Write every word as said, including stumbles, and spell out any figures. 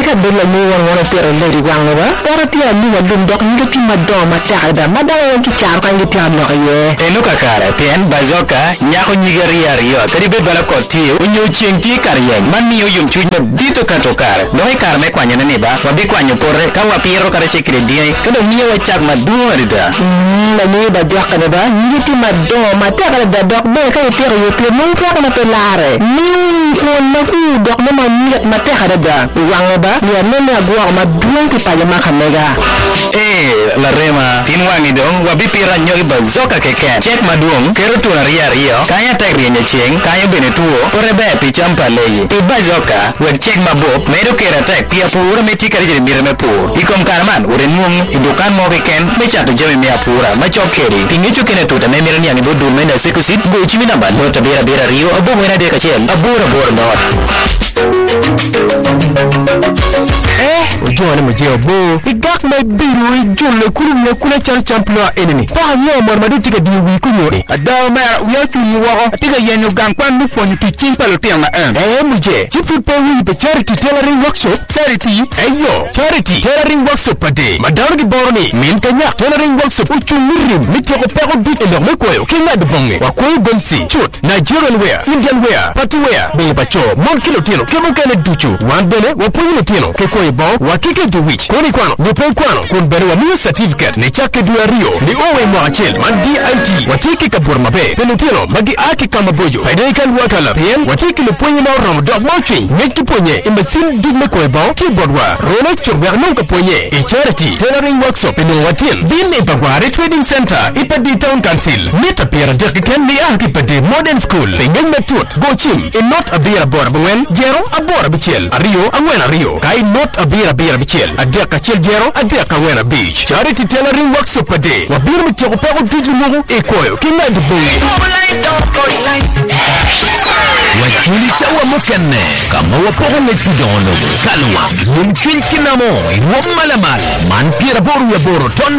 ka bed lanyo wan wan opito ledi wange ba poto tye alum alum dok nyige tye madongo matek adada ma dano weng ki caro kany gitye alok iye. Eno kakare pien bazoka nyako nyige aryo aryo kadi bed bala koth tye onyo ceng tye kar yeny man miyo yomcwiny madit okato kare dok i kare me kwanyone ni ba wabikwanyo pote ka wapiro kata ce kede dyangi ka dong miyowa cak madwong adada. Mm, lanyo bajoka ni ba nyige tye madongo matek adada dok bene ka ipito iye pien nongo peko na pe lare miyo kwon makur dok mo mamit matek adada i wange ba miyo anene agwoko madwong ki paco ma ka mega. Ee, larema, tin wangi dong wabipito anyogi bazoka keken. Cek madwong, keto tun aryo aryo, kanyo atek ryenyo ceng, kanyo bene two, pote ber pi cam pa leyi. Pi bazoka, wek cek mabup, medo kero atek pi apura me tye kadi miti me pur. I kom kare man, wot inwong i dukan mo keken me cato jami me apura macok kedi. Pi ngec okene tuta me mito niang i bot dul me Naseko Seed, go cim i namba not abiro abiro aryo abongwen adek acel aboro aboro not. Eh, ojone muje obo igak ma ibido ijulle kulu wiya kula calo cam ploa enini poko ango mono ma dong tye ka diyo wii kunyo ni Ada omera wiya ocung woko atye ka yenyo gang kwan me pwonyo tic cing pa lutino en. Eh muje ci pud pe iwinyo pi Charity Tailoring Workshop Charity eyo Charity Tailoring Workshop pade ma dano giboro ni min kanyak Tailoring Workshop ocung mi rim mi tyeko peko duc i lok me kwoyo ki ngado bonge wakwoyo gomsi cut Nigerian wear Indian wear party wear bongo pa co mon ki lutino ki mukene ducu wan bene wapwonyo lutino ki kwoyo bongo wa ki keto wic kun ikwano nyo pe ikwano kun bene wamiyo certificate ni cakke dwe aryo ni o i mwaka acel man D I T watye ki kabuto maber pi lutino ma gia ki kama boco pede ka lwakala pien watye ki lupwonye ma oromo dok ma ocwiny ngec ki pwonye i macin duc me kwoyo bongo tye botwa rona cut wek nong ka pwonye i Charity Tailoring Workshop i nongo watin bin i Bagware Trading Center i Padi Town Council mita piero adek keken ni a ki Padi Modern School pi ngec matut go cim i not abiro aboro abongwen jero aboro abicel aryo angwen aryo ka i not abiro abiro abicel adek acel jero adek angwen abic Charity Tailoring Workshop pade wabiro mi tyeko peko duc lumuku i kwoyo ki ngado bongi. Waculi cawa mukene kama wapoko ngec pi dongo lobo kalwa yomcwiny ki namo i rwom malamal man pyeraboro wi aboro ton.